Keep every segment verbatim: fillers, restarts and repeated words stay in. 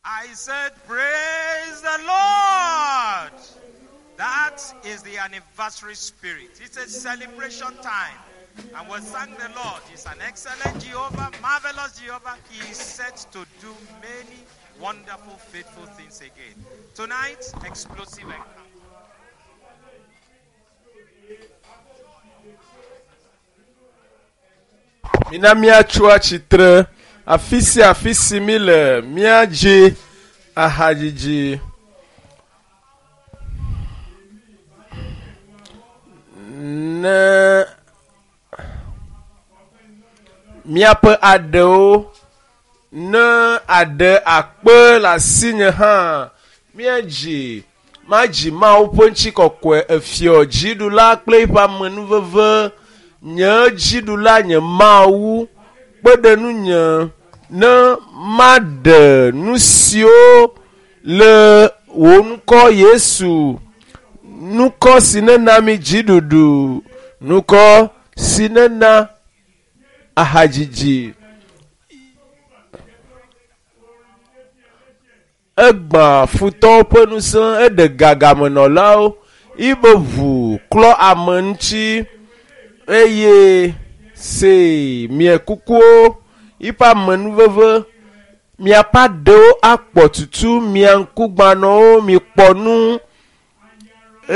I said, Praise the Lord. That is the anniversary spirit. It's a celebration time. And we thank the Lord. He's an excellent Jehovah, marvelous Jehovah. He is set to do many wonderful, faithful things again. Tonight, explosive encounter. Mina míatso atsitre afi sia afi si mi le míadzi ahadzidzi. Ne míaƒe aɖewo ne aɖe akpe le asinye hã míadzi madzi Mawu ƒe ŋutikɔkɔe efiɔ dziɖula kple eƒe amenuveve nye dziɖula nye Mawu kpe ɖe nunye ne maɖe nu siwo le wò ŋkɔ Yesu ŋkɔ si nena mi dziɖuɖu ŋkɔ si nena ahadzidzi egbã futɔwo ƒe ŋusẽ eɖe gagamenɔlawo yibe ʋu klɔ ame ŋuti eye se mie kukuwo yiƒe amenuveve miaƒe aɖewo akpɔ tutu mia ŋkugbanɔwo mikpɔ nu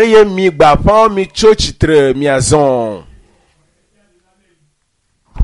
eye mi gbaƒãwo mitso tsitre miazɔ.